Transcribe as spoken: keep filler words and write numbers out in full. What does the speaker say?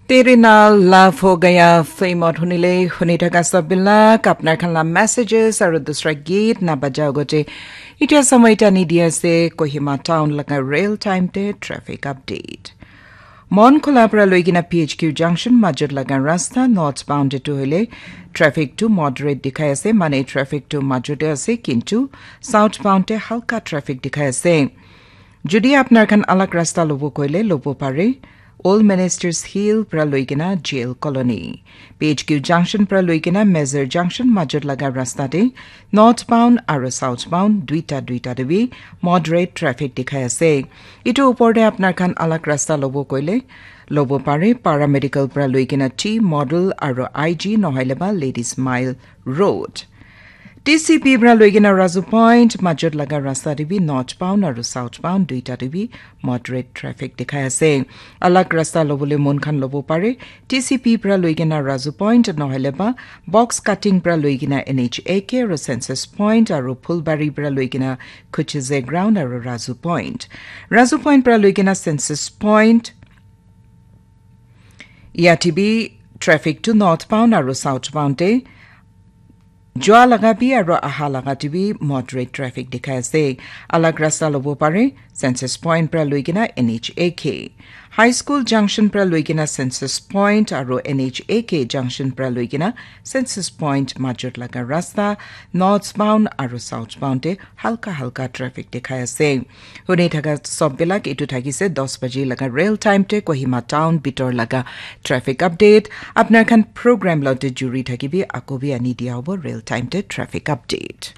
Tere naal laaf ho gaya, film ot hunile huni thaka sab bilak apnar khan la messages aru dusra geet na baja agote. Itya samay tani di ase Kohima town laga real time te traffic update. Mon Khola pra loikena P H Q junction majot laga rasta northbound te tu hoile traffic tu moderate dikhai ase, mane traffic tu majot te ase, kintu southbound te halka traffic dikhai ase. Jodi apnar khan alag rasta lobo koile lobo pare. Old Ministers Hill pra loikena Jail Colony, P H Q junction pra loikena Mezar junction majot laga rasta te northbound aru southbound duita duita te bi moderate traffic dikhai ase. Itu upor te apnar khan alag rasta lobo koile lobo pare, Paramedical pra loikena T Model aru I G nohoile ba Ladies Mile Road. T C P pra loikena Razu Point majot laga rasta te bi northbound aru southbound duita te bi moderate traffic dikhai ase. Alag rasta lobole mon khan lobo pare, T C P pra loikena Razu Point nohoile ba box cutting pra loikena N H A K aru Census Point aru Phulbari pra loikena Kuchize Ground aru Razu Point. Razu Point pra loikena Census Point, yate bi traffic tu northbound aru southbound te jua laga bi aru aha laga te bi moderate traffic dikhai ase. Alag rasta lobo pare, Census Point pra loikena N H A K. High School Junction pra loikena Census Point aru N H A K Junction pra loikena Census Point majot laga rasta northbound aru southbound te halka halka traffic dikhai ase. Huni thaka sob bilak itu thakise dos baji laga real time te Kohima town bitor laga traffic update. Apnar khan program lote juri thakibi, ako bi ani dia hobo real time te traffic update.